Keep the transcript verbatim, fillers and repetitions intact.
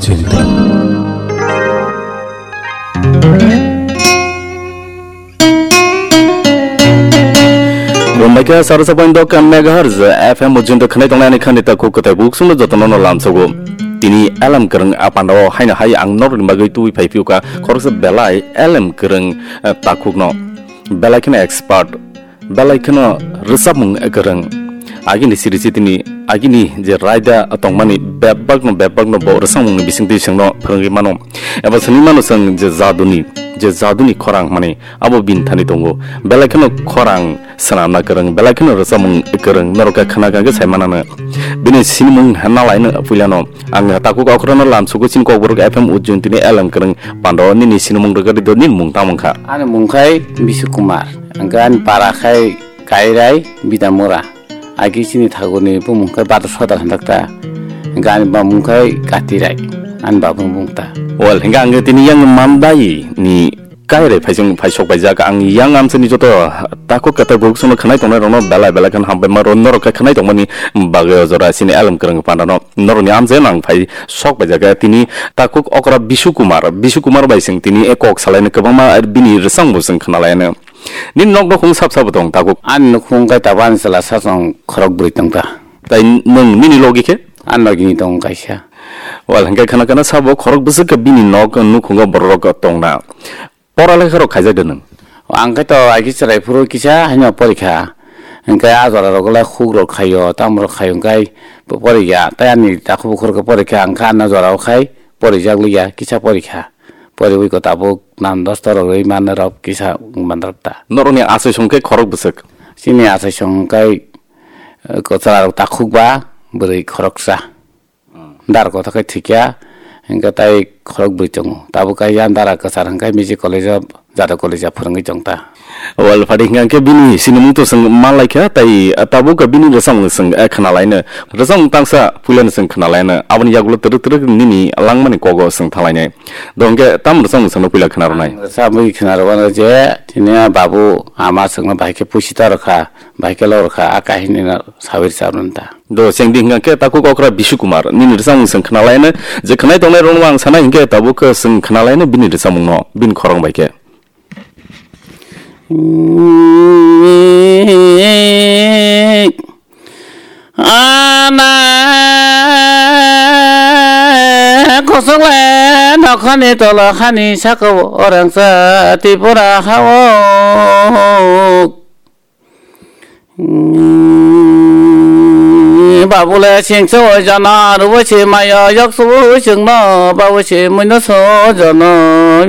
Chini tong. Bombaikha sarasa point dok megahertz F M ujunto khnai tongnai ani khani takhuk kwtai buksungno jotono no lamsogo. Tini elem kwrwng a pandao haino hai ang norokni bagwi tubui phai phiuka khoroksa belai elem kwrwng, eh, takhukno. Belai kheno expert. Belai kheno rwchapmung kwrwng. Agini siri sitini, agini je raida tongmani bebakno, bebakno bo rwchapmungni bisingtwi chwngno phwrwngwi mano. Eba swnwi mano chwng je jaduni, je jaduni khorang hwnmani abo bini thani tongo. Belai kheno khorang swnamna kwrwng, belai kheno rwchapmung kwrwng, norok khe khna kha khe sai manano. Bini sinimung hwnna laino puilano ang takhuk okhrano lamsugo chini Kokborok F M ujun tini elem kwrwng pando nini sinimung rwgadi do nini mung tamo wngkha? Ani mung khai Bishu Kumar, hwnkhe ani para khai Kairai Bidamura. Agi chini thagurni bumung khai Badar Sodar hwnjakta. Hwnkhe ani bamung khai Katirai, ani babung bungta. Well, hingke ang tini yang mandai ni Kairai phaisong phaisok paijak ang yang amsani joto takhuk kata buksongno khanai tongnai rokno belai belai khan hambai ma ro norok khe khanai tongmani bagwi o jora chini elem kwrwng pandano norokni amchaino ang phai sok paijak tini takhuk okra Bishu Kumar, Bishu Kumar bai sing tini e kok salaino kwbangma bini rwchapmung sing khanalaino. Nini nok nokhung sap sabo tong takhuk? Ani nokhung khe tabuk ani chwla sachwng khorok bwrwi tongta. Tai nwng nini logi khe? Ani logini tong kaisa. Wal hwnkhe khana khana sabo khorok bwswk khe bini nok nukhungo bororok tongna. Pora lekha rok khaijak de nwng? Ang khe to aiki chwrai phuru kisa haino porikha. Hwnkhe a jora rok le khuk rok khaio, tamo rok khaio hwnkhe porikha. Tai ani takhuk bukhuk rok porikha, ang khe ano jora o khai porijak liya, kisa porikha. Poriwi ko tabuk nan dosto rok rwi manna rok kisa wng mandrap ta. Norokni achaisong khe khorok bwswk? Chini achaisong khe, eh, kwchwla rok takhuk ba bwrwi khoroksa. Dar kothok khe thikya, hingke tai khorok bwrwi tongo. Tabuk kaiya dara kwchar hingke music college o jado college o phwrwngwi tongta. Wal phadi hingke bini sinimung to chwng manlaikha, tai tabuk bini rwchapmung chwng, eh, khnalaino. Rwchapmung tangsa puilano chwng khnalaino. Aboni yagulo twrwk twrwk nini langmani kogo chwng thalainai. Do hingke tam rwchapmung chwngno puila khna rwnai. Rwchapmung khna rwano je tini babu ama chwngno bahai khe puisi ta rwkha, bahai khe lo rwkha, a kahini no sawi rwchap rwno ta. Do chengdi hingka khe takhuk okra Bishu Kumar nini rwchapmung chwng khnalaino, je khnai tongnai rokno ang sanai hingke tabuk khe chwng khnalaino bini rwchapmungno bini khorang bai khe. Ana kosok le nokhani tolo hani saka o rangsa Tripura ha o. Babule singso jana rubo se maya yakso singno babu se muino so jana.